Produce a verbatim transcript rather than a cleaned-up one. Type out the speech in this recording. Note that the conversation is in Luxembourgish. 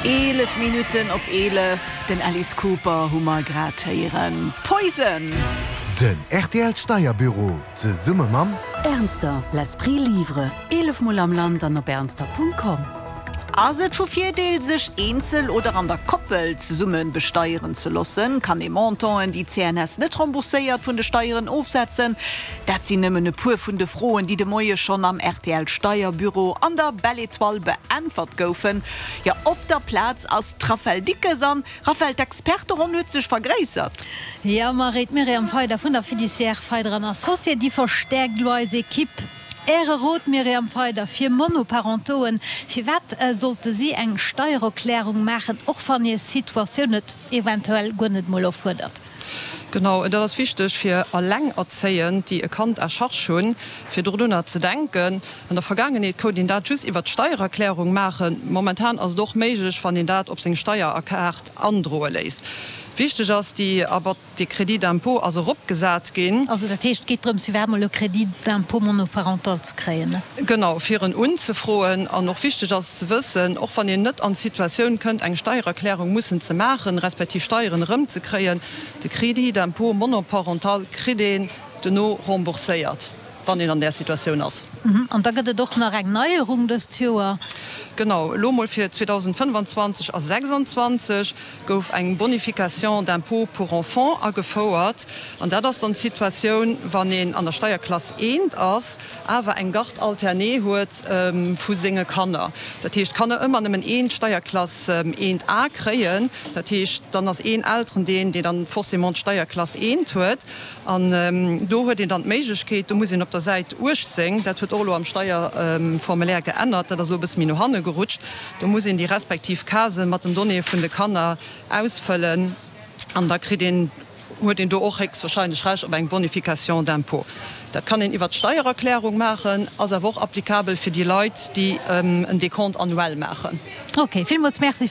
Eelef Minutten op eelef, den Alice Cooper hu mer grad héieren. Poison! Den R T L Steierbüro zesumme mam Ernster, l'esprit livre. Eelef Mol am Land an op ernster Punkt com. Ass et vu Virdeel, sech eenzel oder an der Koppel zesumme besteieren ze loossen? Kann ee Montanten, déi d'C N S net rembourséiert, vun de Steieren ofsetzen? Dat sinn nëmmen e puer vun de Froen, déi de Moie schonn am R T L Steierbüro an der Belle Étoile beäntwert goufen. Ja, op der Plaz ass d'Raphaëlle Dickes an Raphaëlle, d'Experteronn huet sech vergréissert. Ja, Marie, d'Myriam Feider vun der Fiduciaire Feider an Associés, déi verstäerkt elo eis Ekipp. Äre Rot, Myriam Feider, fir Monoparentoen, firwat äh, sollte si eng Steiererklärung maachen, och wann hir Situatioun et eventuell guer net mol erfuerdert? Genau, dat ass wichteg fir Allengerzéiend, déi e Kand à charge hunn, fir dorunner ze denken. An der Vergaangenheet konnt een dat just iwwer d'Steiererklärung maachen. Momentan ass et och méiglech, wann een dat op seng Steierkaart androe léisst. Wichteg ass déi awer de Crédit d'impôt ass eropgesat ginn. Also dat heescht, et geet drëms, iwwerhaapt mol e Crédit d'impôt monoparental ze kréien, ne? Genau, fir en unzefroen. An och wichteg ass ze wëssen, och wann een net an d'Situatioun kënnt, eng Steiererklärung mussen ze maachen, respektiv Steieren erëmzekréien, de Crédit d'impôt monoparental kritt een duerno rembourséiert, wann een an där Situatioun ass. An da gëtt et och nach eng Neierung dëst Joer. Genau, elo mol fir zweedausendfënnfanzwanzeg a sechsanzwanzeg gouf eng Bonification d'impôt pour enfants agefouert. An dat ass dann d'Situatioun, wann een an der Steierklass eent ass, awer eng Garde alternée huet vu senge Kanner. Dat heescht, d'Kanner ëmmer nëmmen een Steierklass eent A kréien. Dat heescht, dann ass een Elterendeel, deen dann forcément d'Steierklass eent huet. An do huet een dann d'Méiglechkeet, do muss een op der Säit uechtzéng, dat huet och elo am Steierformulaire geännert, dat ass elo e bësse méi no hanne gerutscht, do muss een déi respektiv Casen mat den Donnéeë vun de Kanner ausfëllen an da kritt een, huet een do och héchstwahrscheinlech Recht op eng Bonification d'impôt. Dat kann een iwwert d'Steiererklärung maachen, ass awer och applicabel fir déi Leit, déi en Décompte annuel maachen. Ok, villmools Merci.